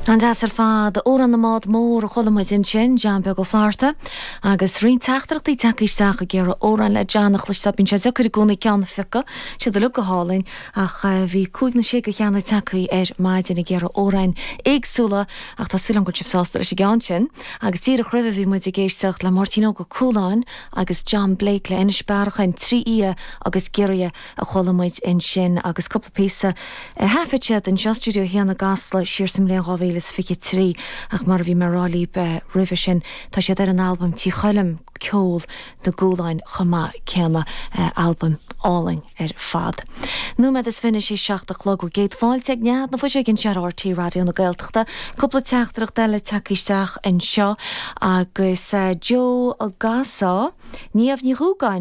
An-deas ar fad. Amhrán na mBád Mór a chuala muid ansin, John Beag Ó Flatharta, agus roinnt teachtaireachtaí tagtha isteach ag iarraidh amhrán le John a chloisteáil. Bíonn sé deacair i gcónaí ceann a phiocadh, siad uilig go hálainn, ach bhí cúig nó sé de cheanna tagtha ar maidin ag iarraidh amhráin éagsúla, ach tá súil agam go bhfuil sibh sásta leis an gceann sin. Agus díreach roimhe bhí muid ag éisteacht le Máirtín Óg Ó Cualáin agus John Blake le Inis Bearachain, Trí Fhia agus Giorria. a chuala muid ansin agus cúpla píosa a thaifead siad anseo i Stiúideo 1 i gCasla siar sa mbliain 2023 ach mar a bhí mé a rá libh roimhe sin tá siad ar an albam Tí Choilm, Ceol na gCualáin chomh maith céanna, albam álainn ar fad. Nóiméad is fiche anois théis 7 a chlog, bhur gcéad fáilte ag Nead na Fuiseoige anseo ar RTÉ Raidió na Gaeltachta. Cúpla teachtaireacht eile tagtha isteach anseo agus Joe Gasá, Niamh Ní Dhúgáin.